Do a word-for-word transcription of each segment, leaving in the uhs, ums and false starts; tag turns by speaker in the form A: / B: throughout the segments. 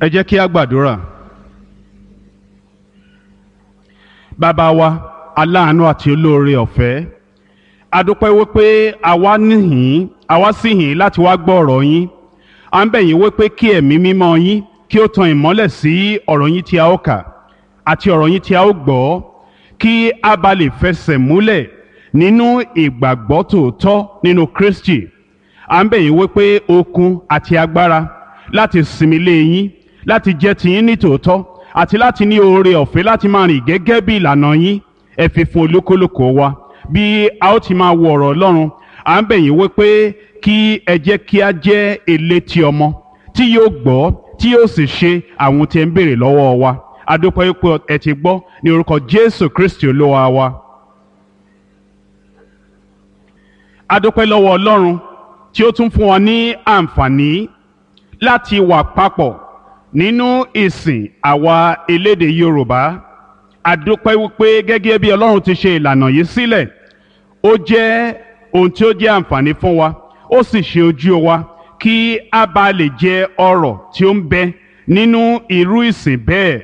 A: Ẹ jẹ́ kí a gbàdúrà. Bàbá wa, aláàánú àti olóore ọ̀fẹ́, a dúpẹ́ wípé àwa níhìn, àwa sì hìn láti wá gbọ́ ọ̀rọ̀ yín. À ń bẹ̀ yín wípé kí ẹ̀mí mímọ́ yín kí ó tan ìmọ́lẹ̀ sí ọ̀rọ̀ yín tí a ó kà àti ọ̀rọ̀ yín tí a ó gbọ́, kí a bá lè fẹsẹ̀ múlẹ̀ nínú ìgbàgbọ́ tòótọ́ nínú Kristi. À ń bẹ̀ yín wípé okun àti agbára láti sinmi lé yín, láti jẹ́ tiyín ní tòótọ́, àti láti ní oore ọ̀fẹ́ láti máa rìn gẹ́gẹ́ bí ìlànà yín, ẹ fi fún olúkúlùkù wa bí a ó ti máa wo ọ̀rọ̀ Ọlọ́run. À ń bẹ̀ yín wípé kí ẹ jẹ́ kí a jẹ́ elétí ọmọ tí yóò gbọ́, tí yóò sì ṣe àwọn tí ẹ ń béèrè lọ́wọ́ wa. A dúpẹ́ wípé ẹ ti gbọ́, ní orúkọ Jésù Kristi Olúwa wa. A dúpẹ́ lọ́wọ́ Ọlọ́run tí ó tún fún wa ní àǹfààní láti wà papọ̀ nínú ìsìn àwa elédè Yorùbá. A dúpẹ́ wípé gẹ́gẹ́ bí Ọlọ́run ti ṣe ìlànà yìí sílẹ̀, ó jẹ́ ohun tí ó jẹ́ àǹfààní fún wa, ó sì ṣe ojú wa kí a bá lè jẹ ọrọ̀ tí ó ń bẹ nínú irú ìsìn bẹ́ẹ̀.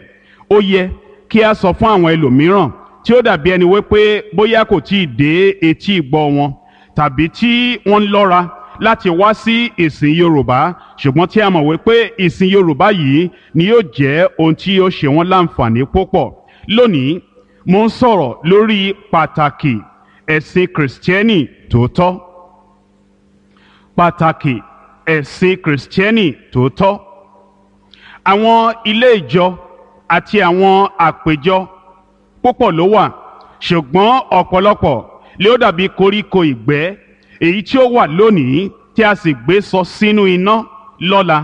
A: Ó yẹ kí a sọ fún àwọn ẹlòmíràn tí ó dàbí ẹni wípé bóyá kò tí ì dé etí ìgbọ́ wọn, tàbí tí wọ́n ń lọ́ra láti wá sí ìsìn Yorùbá, ṣùgbọ́n tí a mọ̀ wípé ìsìn Yorùbá yìí ni yóò jẹ́ ohun tí yóò ṣe wọ́n láǹfààní púpọ̀. Lónìí, mo ń sọ̀rọ̀ lórí pàtàkì ẹ̀sìn Kìrìsìtẹ́nì tòótọ́. Pàtàkì ẹ̀sìn Kìrìsìtẹ́nì tòótọ́. Àwọn ilé ìjọ àti àwọn àpèjọ púpọ̀ ló wà, ṣùgbọ́n ọ̀pọ̀lọpọ̀ lé ó dàbí koríko ìgbẹ́ èyí tí ó wà lónìí tí a sì gbé sọ sínú iná lọ́la.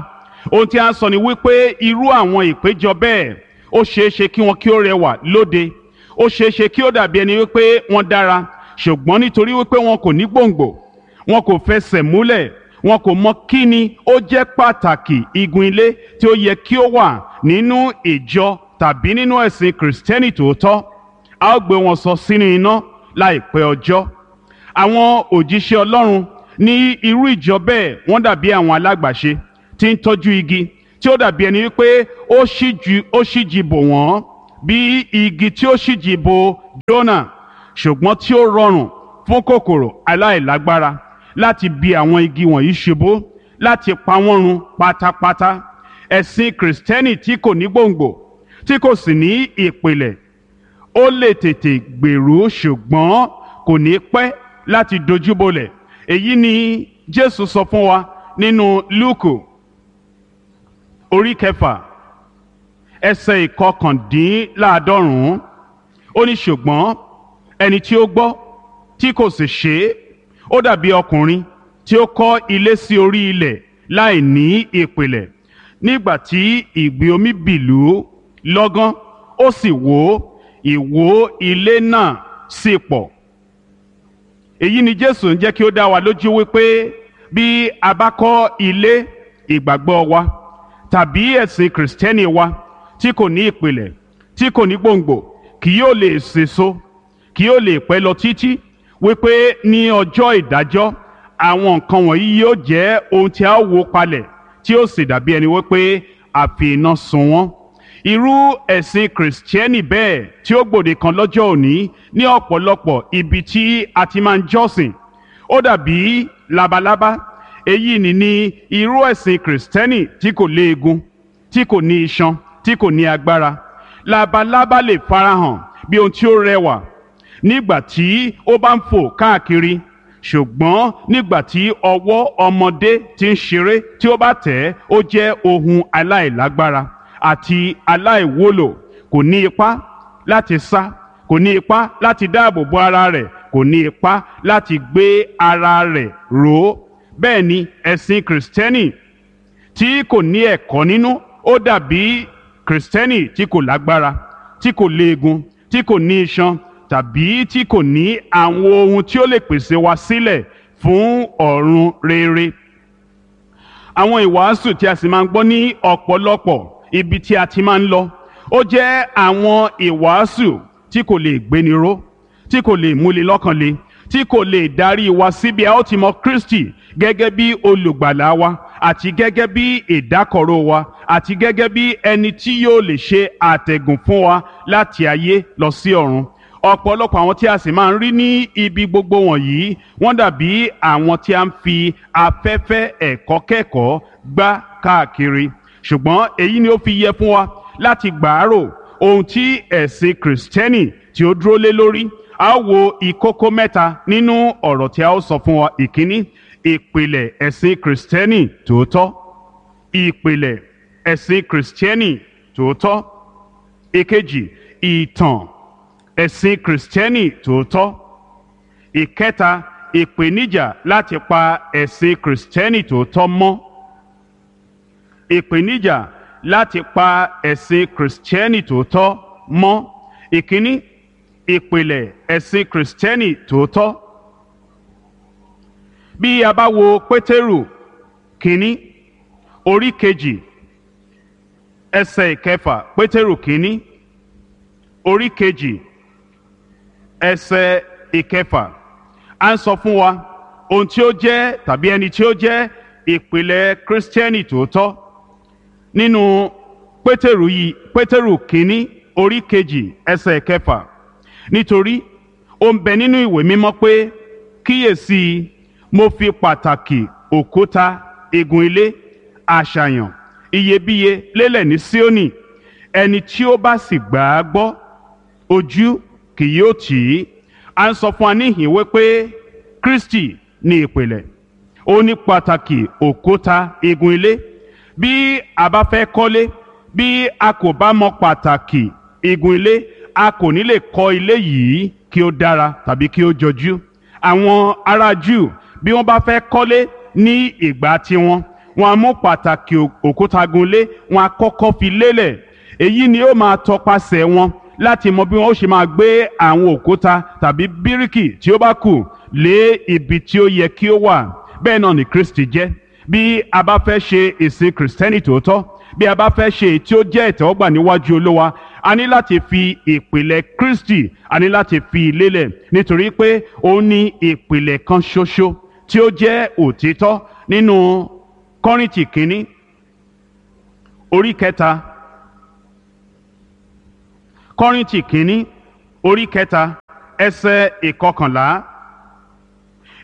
A: Ohun tí a ń sọ ni wípé irú àwọn ìpéjọ bẹ́ẹ̀, ó ṣeé ṣe kí wọn kí ó rẹwà lóde, ó ṣeé ṣe kí ó dàbí ẹni wípé wọ́n dára, ṣùgbọ́n nítorí wípé wọn kò ní gbòǹgbò, wọn kò fẹsẹ̀ múlẹ̀, wọn kò mọ kí ni ó jẹ́ pàtàkì igun ilé tí ó yẹ kí ó wà nínú ìjọ tàbí nínú ẹ̀sìn Kìrìsìtẹ́nì tòótọ́, a ó gbé wọn sọ sínú iná láìpẹ́ ọjọ́. Àwọn òjíṣẹ́ Ọlọ́run ní irú ìjọ bẹ́ẹ̀, wọ́n dàbí àwọn alágbàṣe tí ń tọ́jú igi tí ó dàbí ẹni wípé ó ṣíjú ó ṣíji bò wọ́n bí igi tí ó ṣíji bò Jónà, ṣùgbọ́n tí ó rọrùn fún kòkòrò aláìlágbára láti bi àwọn igi wọ̀nyí ṣubú, láti pa wọ́n run pátápátá. Ẹ̀sìn Kìrìsìtẹ́nì tí kò ní gbòǹgbò, tí kò sì ní ìpìlẹ̀, ó lè tètè gbèrú, ṣùgbọ́n kò ní pẹ́ láti dojúbolẹ̀. Èyí ni Jésù sọ fún wa nínú Lúùkù orí kẹfà, ẹsẹ̀ ìkọkàndínláàádọ́rùn-ún. Ó ní, ṣùgbọ́n ẹni tí ó gbọ́ tí kò sì ṣe é, ó dàbí ọkùnrin tí ó kọ́ ilé sí orí ilẹ̀ láì ní ìpìlẹ̀. Nígbà tí ìgbì omi bìlú lọ́gán, ó sì wó, ìwó ilé náà sì pọ̀. Èyí ni Jésù ń jẹ́ kí ó dá wa lójú wípé bí a bá kọ́ ilé ìgbàgbọ́ wa tàbí ẹ̀sìn Kìrìsìtẹ́nì wa tí kò ní ìpìlẹ̀, tí kò ní gbòǹgbò, kì yóò lè sèso, kì yóò lè pẹ́ lọ títí, wípé ní ọjọ́ ìdájọ́ àwọn nǹkan wọ̀nyí yóò jẹ́ ohun tí a ó wó palẹ̀, tí ó sì dàbí ẹni wípé a fi iná sun wọ́n. Irú ẹ̀sìn Kìrìsìtẹ́nì bẹ́ẹ̀ tí ó gbòde kan lọ́jọ́ òní ní ọ̀pọ̀lọpọ̀ ibi tí a ti máa ń jọ́sìn, ó dàbí labalábá. Èyí ni ní irú ẹ̀sìn Kìrìsìtẹ́nì tí kò léegun, tí kò ní iṣan, tí kò ní agbára. Labalábá lè farahàn bí ohun tí ó rẹwà nígbà tí ó bá ń fò káàkiri, ṣùgbọ́n nígbà tí ọwọ́ ọmọdé ti ń ṣeré tí ó bá tẹ̀ ẹ́, ó jẹ́ ohun aláìlágbára àti aláìwúlò. Kò ní ipá láti sá, kò ní ipá láti dáàbò bo ara rẹ̀, kò ní ipá láti gbé ara rẹ̀ ró. Bẹ́ẹ̀ ni ẹ̀sìn Kìrìsìtẹ́nì tí kò ní ẹ̀kọ́ nínú, ó dàbí Kìrìsìtẹ́nì tí kò lágbára, tí kò léegun, tí kò ní iṣan, tàbí tí kò ní àwọn ohun tí ó lè pèsè wa sílẹ̀ fún ọ̀run rere. Àwọn ìwàásù tí a sì máa ń gbọ́ ní ọ̀pọ̀lọpọ̀ ibi tí a ti máa ń lọ, ó jẹ́ àwọn ìwàásù tí kò lè gbéni ró, tí kò lè múni lọ́kàn le, tí kò lè darí wa síbi a ó ti mọ Kristi gẹ́gẹ́ bí olùgbàlà wa àti gẹ́gẹ́ bí ìdákọ̀ró wa àti gẹ́gẹ́ bí ẹni tí yóò lè ṣe àtẹ̀gùn fún wa láti ayé lọ sí ọ̀run. Ọ̀pọ̀lọpọ̀ àwọn tí a sì máa ń rí ní ibi gbogbo wọ̀nyí, wọ́n dàbí àwọn tí a ń fi afẹ́fẹ́ ẹ̀kọ́ kẹ́kọ̀ọ́ gbá káàkiri. Ṣùgbọ́n èyí ni ó fi yẹ fún wa láti gbàárò ohun tí ẹ̀sìn Kìrìsìtẹ́nì tí ó dúró lé lórí. A ó wo ìkókó mẹ́ta nínú ọ̀rọ̀ tí a ó sọ fún wa. Ìkíní, ìpìlẹ̀ ẹ̀sìn Kìrìsìtẹ́nì tòótọ́. Ìpìlẹ̀ ẹ̀sìn Kìrìsìtẹ́nì tòótọ́. Ìkejì, ìtàn ẹ̀sìn Kìrìsìtẹ́nì tòótọ́. Ìkẹta, ìpèníjà láti pa ẹ̀sìn Kìrìsìtẹ́nì tòótọ́ mọ́. Ìpèníjà láti pa ẹ̀sìn Kìrìsìtẹ́nì tòótọ́ mọ́. Ìkíní, ìpìlẹ̀ ẹ̀sìn Kìrìsìtẹ́nì tòótọ́. Bí a bá wo Pétérù kínní orí kejì ẹsẹ̀ ìkẹfà, Pétérù kínní orí kejì ẹsẹ̀ ìkẹfà, à ń sọ fún wa ohun tí ó jẹ́ tàbí ẹni tí ó jẹ́ ìpìlẹ̀ Kìrìsìtẹ́nì tòótọ́. Nínú Pétérù yìí, Pétérù kínní orí kejì ẹsẹ̀ ìkẹfà, nítorí ó ń bẹ nínú ìwé mímọ́ pé, kíyèsí, mo fi pàtàkì òkúta igun ilé àṣàyàn iyebíye lélẹ̀ ní Síónì, ẹni tí ó bá sì gbà á gbọ́, ojú kì yóò tì í. À ń sọ fún wa níhìn wípé Kristi ní ìpìlẹ̀, ó ní pàtàkì òkúta igun ilé. Bí a bá fẹ́ kọ́lé, bí a kò bá mọ pàtàkì igun ilé, a kò ní lè kọ́ ilé yìí kí ó dára tàbí kí ó jọjú. Àwọn ará Júù, bí wọ́n bá fẹ́ kọ́lé ní ìgbà tiwọn, wọ́n á mú pàtàkì òkúta gunlé, wọ́n á kọ́kọ́ fi lélẹ̀. Èyí ni ó máa tọpasẹ̀ wọn láti mọ bí wọ́n ó ṣe máa gbé àwọn òkúta tàbí bíríkì tí ó bá kù lé ibi tí ó yẹ kí ó wà. Bẹ́ẹ̀ náà ni Kristi jẹ́. Bí a bá fẹ́ ṣe ìsìn Kìrìsìtẹ́nì tòótọ́, bí a bá fẹ́ ṣe èyí tí ó jẹ́ ìtẹ́wọ́gbà níwájú Olúwa, a ní láti fi ìpìlẹ̀ Kristi, a ní láti fi lélẹ̀, nítorí pé ó ní ìpìlẹ̀ kan ṣoṣo tí ó jẹ́ òtítọ́. Nínú Kọ́ríńtì kínní orí kẹta, Kọ́ríńtì kínní orí kẹta ẹsẹ̀ ìkọkànlá,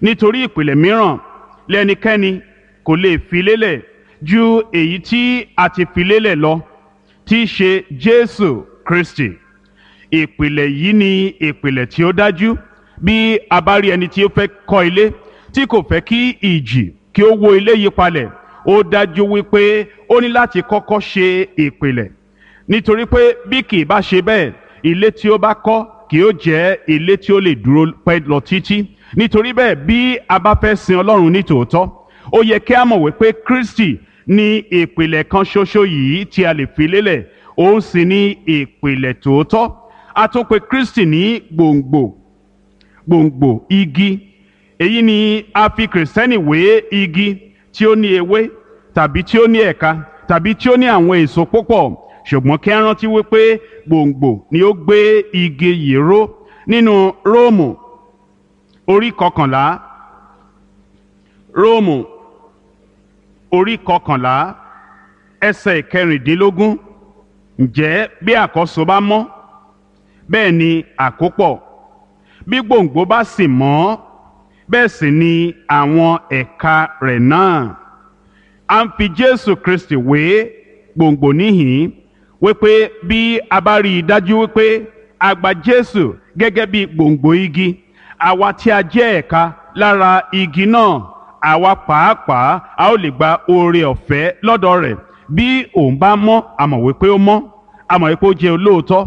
A: nítorí ìpìlẹ̀ mìíràn lẹ́nikẹ́ni kò lè fi lélẹ̀ ju èyí tí a ti fi lélẹ̀ lọ, tí í ṣe Jésù Kristi. Ìpìlẹ̀ yìí ni ìpìlẹ̀ tí ó dájú. Bí a bá rí ẹni tí ó fẹ́ kọ́ ilé tí kò fẹ́ kí ìjì kí ó wó ilé yìí palẹ̀, ó dájú wípé ó ní láti kọ́kọ́ ṣe ìpìlẹ̀, nítorí pé bí kì í bá ṣe bẹ́ẹ̀, ilé tí ó bá kọ́ kì ó jẹ́ ilé tí ó lè dúró pẹ́ lọ títí. Nítorí bẹ́ẹ̀, bí a bá fẹ́ sin Ọlọ́run ní tòótọ́, ó yẹ kí a mọ̀ wípé Kristi ní ìpìlẹ̀ kan ṣoṣo yìí tí a lè fi lélẹ̀, òun sì ní ìpìlẹ̀ tòótọ́. A tún pè Kristi ní gbòǹgbò, gbòǹgbò igi. Èyí ni a fi Kìrìsìtẹ́nì wé igi tí ó ní ewé tàbí tí ó ní ẹ̀ka tàbí tí ó ní àwọn èso púpọ̀. Ṣùgbọ́n kí a rántí wípé gbòǹgbò ni ó gbé igi yìí ró. Nínú Róòmù orí kọkànlá, Róòmù orí kọkànlá ẹsẹ̀ ìkẹrìndínlógún, ǹjẹ́ bí àkọ́so bá mọ́, bẹ́ẹ̀ ni àkópọ̀; bí gbòǹgbò bá sì mọ́, bẹ́ẹ̀ sì ni àwọn ẹ̀ka rẹ̀ náà. A ń fi Jésù Kristi wé gbòǹgbò níhìn-ín, wípé bí a bá rí i dájú wípé a gba Jésù gẹ́gẹ́ bí gbòǹgbò igi, àwa tí a jẹ́ ẹ̀ka lára igi náà, àwa pàápàá a ó lè gba oore ọ̀fẹ́ lọ́dọ̀ rẹ̀. Bí òun bá mọ́, a mọ̀ wípé ó mọ́, a mọ̀ wípé ó jẹ́ olóòótọ́,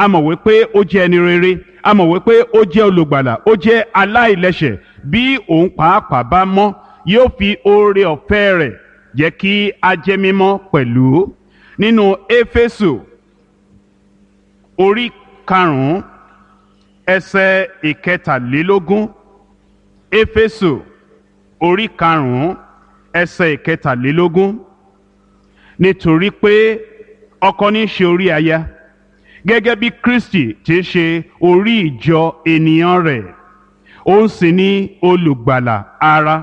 A: a mọ̀ wípé ó jẹ́ ẹni rere, a mọ̀ wípé ó jẹ́ olùgbàlà, ó jẹ́ aláìlẹ́ṣẹ̀. Bí òun pàápàá bá mọ́, yóò fi oore ọ̀fẹ́ rẹ̀ jẹ́ kí a jẹ́ mímọ́ pẹ̀lú. Nínú Éfésù orí karùn-ún ẹsẹ̀ ìkẹtàlélógún, Éfésù orí karùn-ún ẹsẹ̀ ìkẹtàlélógún, nítorí pé ọkọ ní í ṣe orí aya, gẹ́gẹ́ bí Kristi ti ṣe orí ìjọ ènìyàn rẹ̀, Òun sì ni olùgbàlà ara.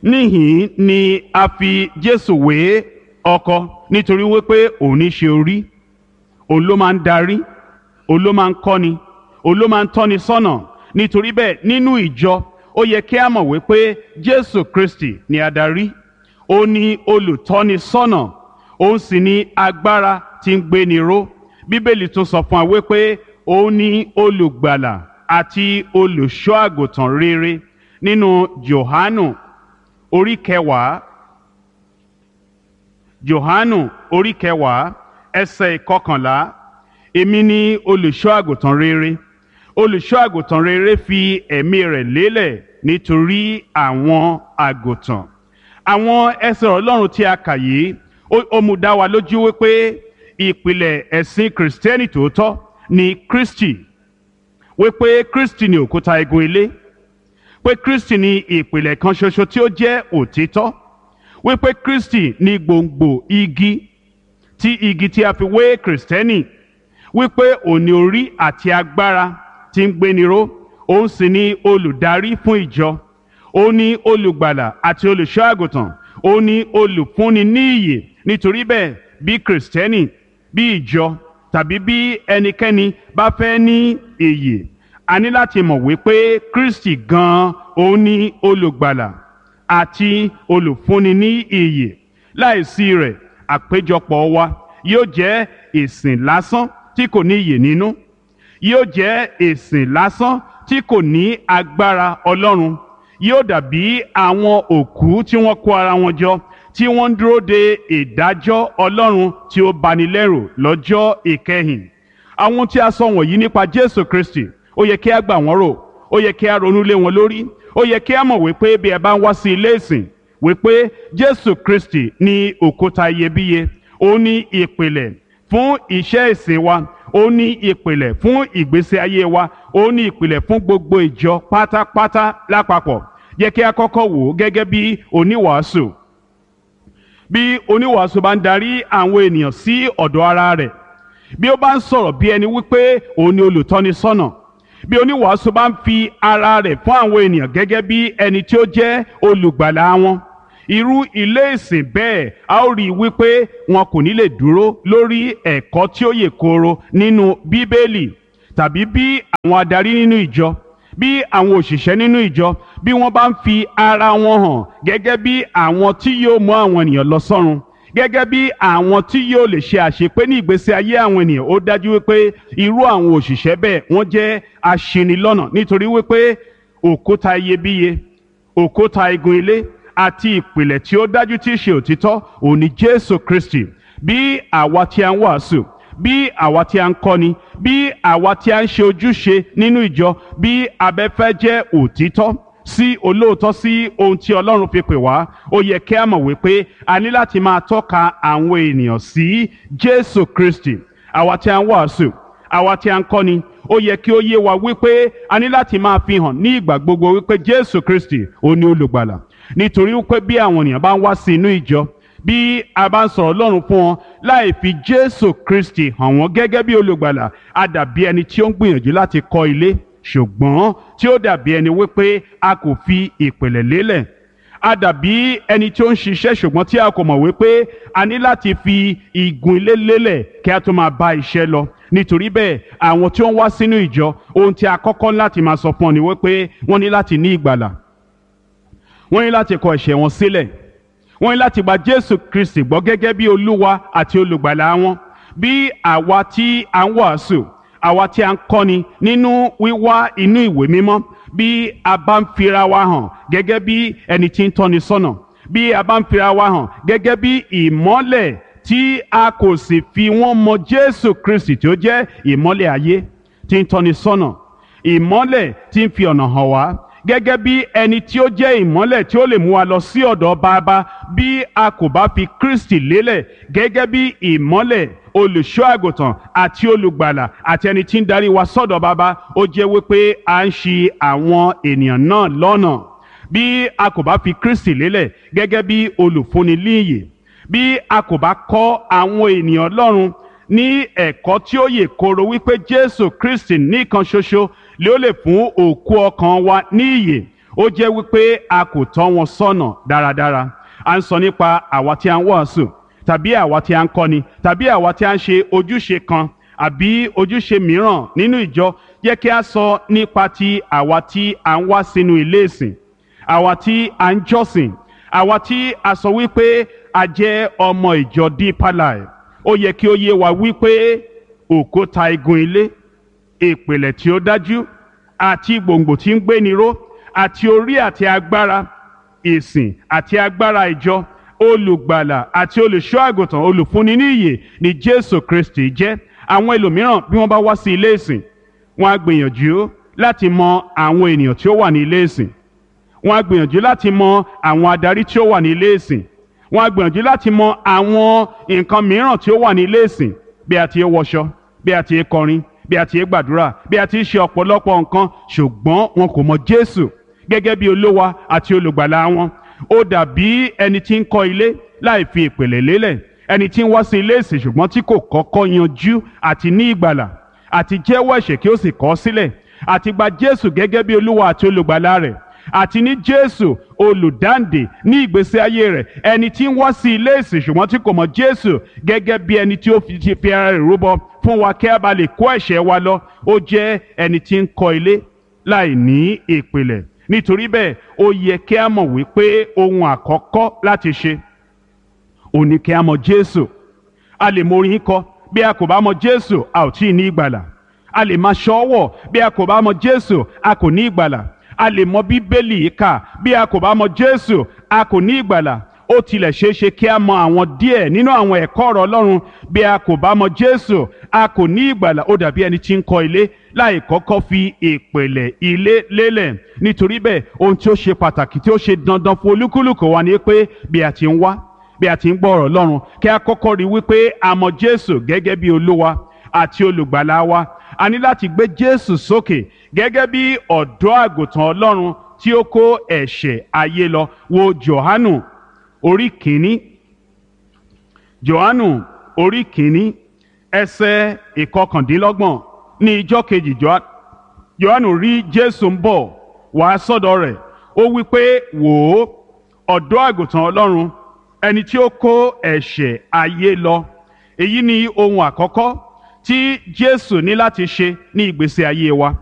A: Níhìn ni a fi Jésù wé ọkọ, nítorí wípé òun ní ṣe orí, òun ló máa ń darí, òun ló máa ń kọ́ni, òun ló máa ń tọ́ni sọ́nà. Nítorí bẹ́ẹ̀, nínú ìjọ ó yẹ kí a mọ̀ wípé Jésù Kristi ni adarí, ó ní olùtọ́ni sọ́nà, òun sì ní agbára tí ń gbéni ró. Bíbélì tún sọ fún wa wípé òun ní olùgbàlà àti olùṣọ́ àgùntàn rere nínú Jòhánù orí kẹwàá. Jòhánù orí kẹwàá, ẹsẹ̀ ìkọkànlá. Èmi ni olùṣọ́ àgùntàn rere. Olùṣọ́ àgùntàn rere fi ẹ̀mí rẹ̀ lélẹ̀ nítorí àwọn àgùntàn. Àwọn ẹsẹ̀ Ọlọ́run tí a kà yìí, ó mú dá wa lójú wípé ìpìlẹ̀ ẹ̀sìn Kìrìsìtẹ́nì tòótọ́ ni Kristi, wípé Kristi ni òkúta igun ilé, pé Kristi ni ìpìlẹ̀ kan ṣoṣo tí ó jẹ́ òtítọ́, wípé Kristi ni gbòǹgbò igi tí igi tí a fi wé Kìrìsìtẹ́nì, wípé òun ni orí àti agbára tí ń gbéni ró, òun sì ni olùdarí fún ìjọ, òun ni olùgbàlà àti olùṣọ́ àgùntàn, òun ni olùfúnni ní ìyè. Nítorí bẹ́ẹ̀, bí Kìrìsìtẹ́nì, bí ìjọ tàbí bí ẹnikẹ́ni bá fẹ́ ní ìyè, a ní láti mọ̀ wípé Kristi gan-an òun ni olùgbàlà àti olùfúnni ní ìyè. Láìsí rẹ̀, àpéjọpọ̀ wa yóò jẹ́ ìsìn lásán tí kò ní ìyè nínú, yóò jẹ́ ìsìn lásán tí kò ní agbára Ọlọ́run, yóò dàbí àwọn òkú tí wọ́n kó ara wọn jọ tí wọ́n ń dúró de ìdájọ́ Ọlọ́run tí ó bani lẹ́rù lọ́jọ́ ìkẹyìn. Àwọn tí a sọ wọ̀nyí nípa Jésù Kristi, ó yẹ kí a gbà wọ́n rò, ó yẹ kí a ronú lé wọn lórí, ó yẹ kí a mọ̀ wípé bí ẹ bá ń wá sí ilé ìsìn, wípé Jésù Kristi ní òkúta iyebíye, ó ní ìpìlẹ̀ fún iṣẹ́ ìsìn wa, ó ní ìpìlẹ̀ fún ìgbésí ayé wa, ó ní ìpìlẹ̀ fún gbogbo ìjọ pátápátá lápapọ̀. Yẹ kí a kọ́kọ́ wò ó gẹ́gẹ́ bí oníwàásù. Bí oníwàásù bá ń darí àwọn ènìyàn sí ọ̀dọ̀ ara rẹ̀, bí ó bá ń sọ̀rọ̀ bí ẹni wípé òun ni olùtọ́nisọ́nà, bí oníwàásù bá ń fi ara rẹ̀ fún àwọn ènìyàn gẹ́gẹ́ bí ẹni tí ó jẹ́ olùgbàlà wọn, irú ilé ìsìn bẹ́ẹ̀, a ó rí i wípé wọn kò ní lè dúró lórí ẹ̀kọ́ tí ó yè kooro nínú Bíbélì. Tàbí bí àwọn adarí nínú ìjọ, bí àwọn òṣìṣẹ́ nínú ìjọ, bí wọ́n bá ń fi ara wọn hàn gẹ́gẹ́ bí àwọn tí yóò mú àwọn ènìyàn lọ sọ́run, gẹ́gẹ́ bí àwọn tí yóò lè ṣe àṣepé ní ìgbésí ayé àwọn ènìyàn, ó dájú wípé irú àwọn òṣìṣẹ́ bẹ́ẹ̀ wọ́n jẹ́ aṣinilọ́nà, nítorí wípé òkúta iyebíye, òkúta igun ilé àti ìpìlẹ̀ tí ó dájú tí í ṣe òtítọ́ òun ni Jésù Kristi. Bí àwa tí a ń wàásù, bí àwa tí a ń kọ́ni, bí àwa tí a ń ṣe ojúṣe nínú ìjọ, bí abẹ́fẹ́ jẹ́ òtítọ́ sí olóòótọ́ sí ohun tí Ọlọ́run fi pè wá, ó yẹ kí a mọ̀ wípé a ní láti máa tọ́ka àwọn ènìyàn sí Jésù Kristi. Àwa tí a ń wàásù, àwa tí a ń kọ́ni, ó yẹ kí ó yé wa wípé a ní láti máa fi hàn ní ìgbà gbogbo wípé Jésù Kristi ó ní olùgbàlà. Nítorí wípé bí àwọn ènìyàn bá ń wá sí inú ìjọ, bí a bá ń sọ̀rọ̀ Ọlọ́run fún wọn láì fi Jésù Kristi hàn wọ́n gẹ́gẹ́ bí olùgbàlà, a dàbí ẹni tí ó ń gbìyànjú láti kọ́ ilé, ṣùgbọ́n tí ó dàbí ẹni wípé a kò fi ìpìlẹ̀ lélẹ̀. A dàbí ẹni tí ó ń ṣiṣẹ́ ṣùgbọ́n tí a kò mọ̀ wípé a ní láti fi igun ilé lélẹ̀ kí a tó máa bá iṣẹ́ lọ. Nítorí bẹ́ẹ̀, àwọn tí ó ń wá sínú ìjọ, ohun tí a kọ́kọ́ láti máa sọ fún ọ ni wípé wọ́n ní láti ní ìgbàlà, wọ́n ní láti kọ ẹ̀ṣẹ̀ wọn sílẹ̀, wọ́n ní láti gba Jésù Kristi gbọ́ gẹ́gẹ́ bí Olúwa àti olùgbàlà wọn. Bí àwa tí a ń wàásù, àwa tí a ń kọ́ni nínú wíwá inú ìwé mímọ́, bí a bá ń fira wa hàn gẹ́gẹ́ bí ẹni tí ń tọ́ni sọ́nà, bí a bá ń fira wa hàn gẹ́gẹ́ bí ìmọ́lẹ̀ tí a kò sì fi wọ́n mọ Jésù Kristi tí ó jẹ́ ìmọ́lẹ̀ ayé tí ń tọ́ni sọ́nà, ìmọ́lẹ̀ tí ń fi ọ̀nà hàn wá, gẹ́gẹ́ bí ẹni tí ó jẹ́ ìmọ́lẹ̀ tí ó lè mú wa lọ sí ọ̀dọ̀ Bàbá, bí a kò bá fi Kristi lélẹ̀ gẹ́gẹ́ bí ìmọ́lẹ̀, olùṣọ́ àgùntàn àti olùgbàlà àti ẹni tí ń darí wa sọ́dọ̀ Bàbá, ó jẹ́ wípé à ń ṣì àwọn ènìyàn náà lọ́nà. Bí a kò bá fi Kristi lélẹ̀ gẹ́gẹ́ bí olùfúnni líyè, bí a kò bá kọ́ àwọn ènìyàn Ọlọ́run ní ẹ̀kọ́ tí ó yè kooro wípé Jésù Kristi nìkan ṣoṣo lé ó lè fún òkú ọkàn wa ní ìyè. Ó jẹ́ wípé a kò tọ́ wọn sọ́nà dáradára. À ń sọ nípa àwa tí a ń wàásù, tàbí àwa tí a ń kọ́ni, tàbí àwa tí a ń ṣe ojúṣe kan àbí ojúṣe mìíràn nínú ìjọ. Jẹ́ kí a sọ nípa ti àwa tí a ń wá sínú ilé ìsìn, àwa tí a ń jọ́sìn, àwa tí a sọ wípé a jẹ́ ọmọ ìjọ Deeper Life. Ó yẹ kí ó yé wa wípé òkúta igun ilé, ìpìlẹ̀ tí ó dájú àti gbòǹgbò tí ń gbéni ró, àti orí àti agbára ìsìn àti agbára ìjọ, olùgbàlà àti olùṣọ́ àgùntàn, olùfúnni ní ìyè ni Jésù Kristi jẹ́. Àwọn ẹlòmíràn, bí wọ́n bá wá sí ilé ìsìn, wọ́n á gbìyànjú láti mọ àwọn ènìyàn tí ó wà ní ilé ìsìn, wọ́n á gbìyànjú láti mọ àwọn adarí tí ó wà ní ilé ìsìn, wọ́n á gbìyànjú láti mọ àwọn nǹkan mìíràn tí ó wà ní ilé ìsìn, bí a ti ń wọṣọ, bí a ti ń kọrin, bí a ti ń gbàdúrà, bí a ti ń ṣe ọ̀pọ̀lọpọ̀ nǹkan, ṣùgbọ́n wọn kò mọ Jésù gẹ́gẹ́ bí Olúwa àti olùgbàlà wọn. Ó dàbí ẹni tí ń kọ́ ilé láì fi ìpìlẹ̀ lélẹ̀, ẹni tí ń wá sí ilé ìsìn ṣùgbọ́n tí kò kọ́kọ́ yanjú àti ní ìgbàlà, àti jẹ́wọ́ ẹ̀ṣẹ̀ kí ó sì kọ̀ ọ́ sílẹ̀, àti gba Jésù gẹ́gẹ́ bí Olúwa àti olùgbàlà rẹ̀, àti ní Jésù olùdáǹdè ní ìgbésí ayé rẹ̀. Ẹni tí ń wá sí ilé ìsìn ṣùgbọ́n tí kò mọ̀ Jésù gẹ́gẹ́ bí ẹni tí ó fi ti fi ara rẹ̀ rúbọ fún wa kí a bá lè kó ẹ̀ṣẹ̀ wa lọ, ó jẹ́ ẹni tí ń kọ́ ilé láì ní ìpìlẹ̀. Nítorí bẹ́ẹ̀, ó yẹ kí a mọ̀ wípé ohun àkọ́kọ́ láti ṣe ò ní kí a mọ̀ Jésù. A lè mọ orin kọ, bí a kò bá mọ̀ Jésù, a ò tí ì ní ìgbàlà. A lè máa ṣọ́wọ̀, bí a kò bá mọ̀ Jésù, a kò ní ìgbàlà. A lè mọ Bíbélì kà, bí a kò bá mọ̀ Jésù, a kò ní ìgbàlà. Ó tilẹ̀ ṣeé ṣe kí a mọ àwọn díẹ̀ nínú àwọn ẹ̀kọ́ ọ̀rọ̀ Ọlọ́run, bí a kò bá mọ̀ Jésù, a kò ní ìgbàlà. Ó dàbí ẹni tí ń kọ́ ilé láì kọ́kọ́ fi ìpìlẹ̀ ilé lélẹ̀. Nítorí bẹ́ẹ̀, ohun tí ó ṣe pàtàkì tí ó ṣe dandan fún olúkúlùkù wa ni pé bí a ti ń wá, bí a ti ń gbọ́ ọ̀rọ̀ Ọlọ́run, kí a kọ́kọ́ rí wípé a mọ̀ Jésù gẹ́gẹ́ bí Olúwa àti olùgbàlà wa. A ní láti gbé Jésù sókè gẹ́gẹ́ bí ọ̀dọ́ àgùntàn Ọlọ́run tí ó kó ẹ̀ṣẹ̀ ayé lọ. Wo Jòhánù orí kìíní. Jòhánù orí kìíní, ẹsẹ̀ ìkọkàndínlọ́gbọ̀n. Ní ijọ́ kejì, Jòhánù rí Jésù ń bọ̀ wá sọ́dọ̀ rẹ̀. Ó wí pé, wò ó, ọ̀dọ́ àgùntàn Ọlọ́run, ẹni tí ó kó ẹ̀ṣẹ̀ ayé lọ. Èyí ni ohun àkọ́kọ́ tí Jésù ní láti ṣe ní ìgbésí ayé wa.